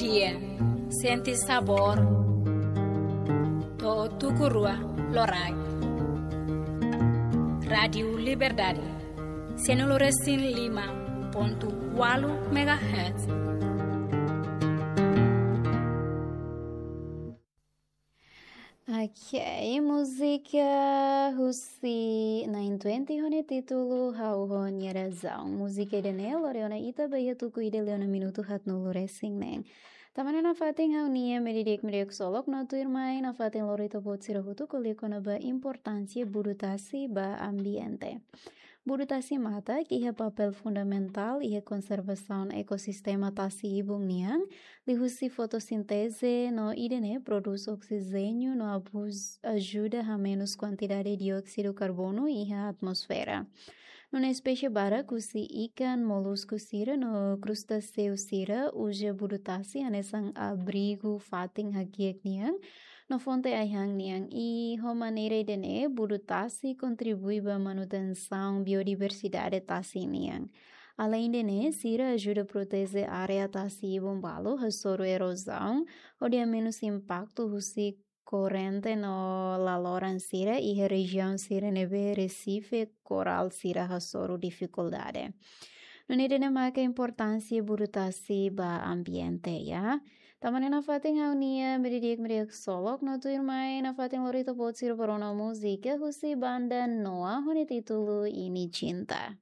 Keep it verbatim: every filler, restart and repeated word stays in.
Dia, sente sabór. To'o tuku rua loraik. Rádiu Liberdade, sianulu resin lima pontu ualu megahertz. Ok, múzika husi nine twenty ho nia títulu Ha'u ho Nia Razaun. Múzika ida-ne'e lori ona ita ba iha tuku ida liu ona minutu haatnulu resin neen. Tanba ne'e nafatin ha'u-nia media di'ak media ksolok no tuirmai nafatin lori ita-boot sira hotu ko'alia kona-ba importánsia budu tasi ba ambiente. Budu tasi matak iha papél fundamentál iha konservasaun ekosistema tasi-ibun nian, liuhusi fotosínteze no ida-ne'e prodús oksijéniu no abus-, ajuda hamenus kuantidade dióksidu karbonu iha atmosfera. Nune'e espésie barak husi ikan, molusku sira no krustaseu sira uza budu tasi hanesan abrigu fatin hakiak nian no fonte ai-han nian, i ho maneira ida-ne'e budu tasi kontribui ba manutensaun biodiversidade tasi nian. Aleinde ne'e, sira ajuda proteje área tasi-ibun balu hasoru erozaun, hodi hamenus impaktu husi korrente no laloran sira iha rejiaun sira ne'ebé resife korál sira hasoru difikuldade. Nune'e ida-ne'e maka importánsia budu tasi ba ambiente, ya. Tanba ne'e nafatin ha'u-nia media di'ak media ksolok no tuirmai nafatin lori ita-boot sira ba rona múzika husi banda Noah ho nia títulu Ini Cinta.